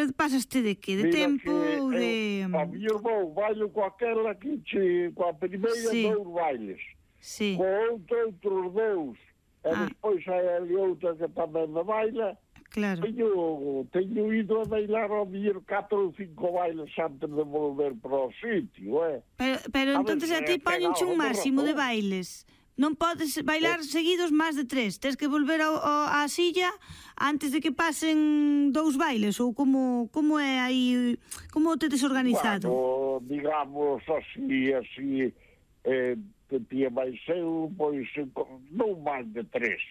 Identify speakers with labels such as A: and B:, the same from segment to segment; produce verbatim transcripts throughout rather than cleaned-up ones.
A: Pero pasaste de que? De
B: Mira
A: tempo ou de...
B: A miña vou bailo coa aquela que che, coa primeira sí. dous bailes.
A: Sí.
B: Co outro, outros dous. E ah. despois hai ali outra que tamén me baila.
A: Claro.
B: Teño, teño ido a bailar ao mellor catro ou cinco bailes antes de volver para o sitio, eh?
A: Pero, pero entonces a ti poñenche un máximo de bailes. Non podes bailar eh. seguidos máis de tres. Tens que volver ao, ao, á silla antes de que pasen dous bailes, ou como, como é aí, como te desorganizado?
B: Bueno, digamos así, así, eh, que tía máis eu, pois, non máis de tres.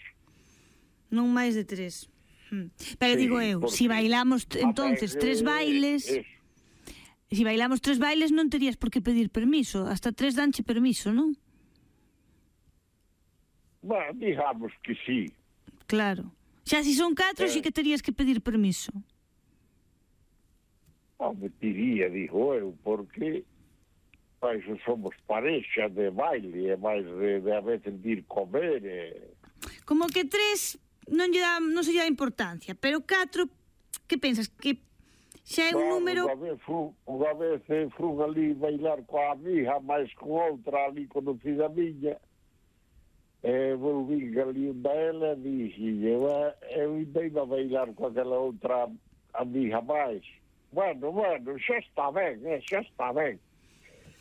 A: Non máis de tres. Hmm. Pero sí, digo eu, porque, si bailamos entonces ver, tres bailes, eh, si bailamos tres bailes non terías por que pedir permiso, hasta tres danche permiso, non?
B: Bueno, digamos que sí.
A: Claro. Xa si son catro, eh, si que terías que pedir permiso.
B: Non me diría, digo eu, porque pois somos parexa de baile, e máis de, de a veces de ir comer. E...
A: Como que tres non lle dá, non se lle dá importancia, pero catro, que pensas? Que xa é un
B: bueno,
A: número...
B: Unha vez, fun, unha vez fun ali bailar coa amiga, máis con outra ali conocida miña, e volví ali da ela e dixi, eu, eu indei a bailar con aquela outra amiga máis. Bueno, bueno, xa está ben, eh, xa está ben.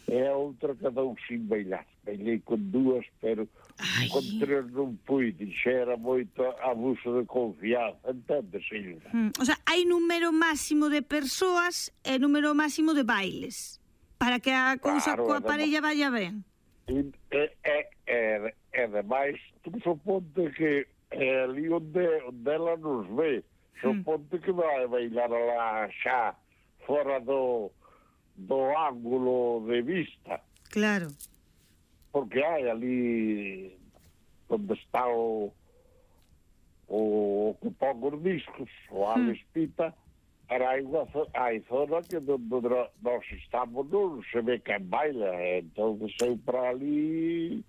B: E a outra quedou sin bailar. Bailei con dúas, pero Ai. con tres non pude. Xa era moito abuso de confianza, entendes, Silva?
A: Hmm. O sea, hai número máximo de persoas e número máximo de bailes para que a cousa claro, coa parella vaya ben.
B: E, e, e, e, e demais, tú suponte que é ali onde, onde ela nos ve, suponte hmm. que vai bailar lá xa fora do do ángulo de vista.
A: Claro.
B: Porque hai ali onde está o o que pon os discos, o Alex hmm. Pita, era hai, unha, hai zona que onde nós estamos non se ve quen baila, entón eu para ali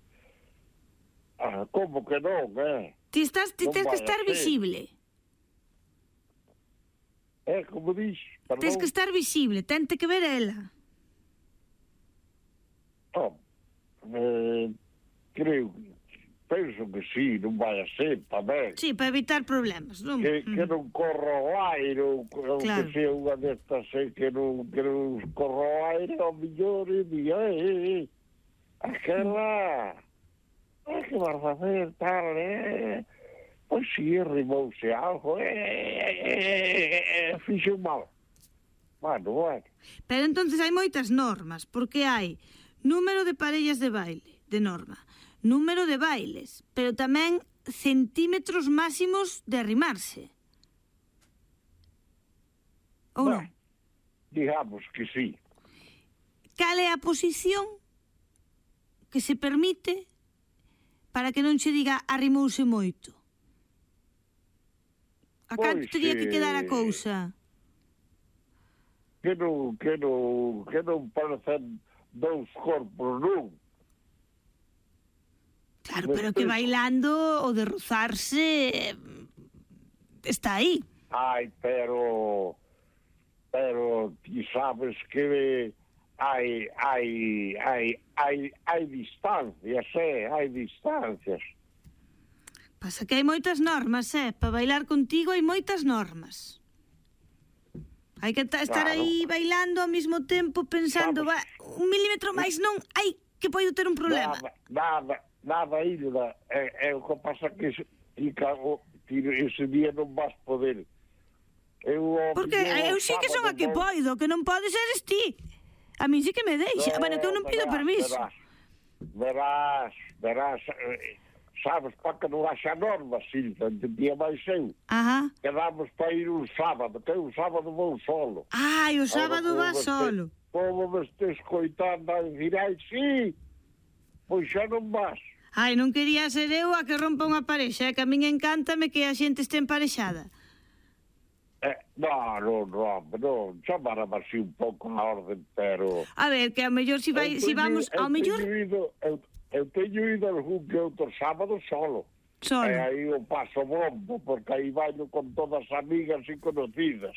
B: ah, como que non, eh?
A: Ti estás, ti tens que estar visible.
B: É, como dix, perdón.
A: Tens que estar visible, tente que ver ela.
B: Oh, eh, creo, penso que sí, non vai a ser tamén.
A: Sí, para evitar problemas, non?
B: Que, que non corra o aire, ou claro. que sea unha destas eh, que non, que non corra o aire, ao millor e diga, eh, eh, eh, aquela, eh, que vas a facer, tal, eh... Pois si, rimouse algo, e eh, eh, eh, fixo mal. Bueno, bueno.
A: Pero entonces hai moitas normas, porque hai número de parellas de baile, de norma, número de bailes, pero tamén centímetros máximos de arrimarse. Ou
B: bueno, non? Digamos que sí.
A: Cal é a posición que se permite para que non se diga arrimouse moito? A canto pois, teria que quedar a cousa?
B: Que non, que non, que non parecen dous corpos, non?
A: Claro, Despois... pero que bailando o de rozarse está aí.
B: Ai, pero pero ti sabes que hai hai hai hai hai distancias, eh, hai distancias.
A: Pasa que hai moitas normas, eh? Para bailar contigo hai moitas normas. Hai que estar claro. aí bailando ao mesmo tempo pensando, va, un milímetro máis non, ai, que podo ter un problema.
B: Nada, nada, nada, Hilda. É, é o que pasa que ese, ese día non vas poder. Eu,
A: Porque eu sí que son a que poido, que non pode ser ti. A mí sí que me deixa. No, bueno, que eu non pido
B: verás,
A: permiso.
B: Verás, verás, verás eh, sabes, para que non haxa normas, Silva, entendía máis eu.
A: Ajá.
B: Quedamos para ir un sábado, que un sábado vou solo.
A: Ai, o sábado va solo.
B: Como me estes coitando a dicir, ai, sí, pois xa non vas.
A: Ai, non quería ser eu a que rompa unha parexa, que a min encántame que a xente este emparexada.
B: Eh, non, non, non, non, chamara así un pouco a orden, pero...
A: A ver, que ao mellor si, vai, si vamos, ao mellor...
B: Ido, eu, eu teño ido algún que outro sábado solo.
A: Solo.
B: E aí o paso bombo, porque aí bailo con todas amigas e conocidas.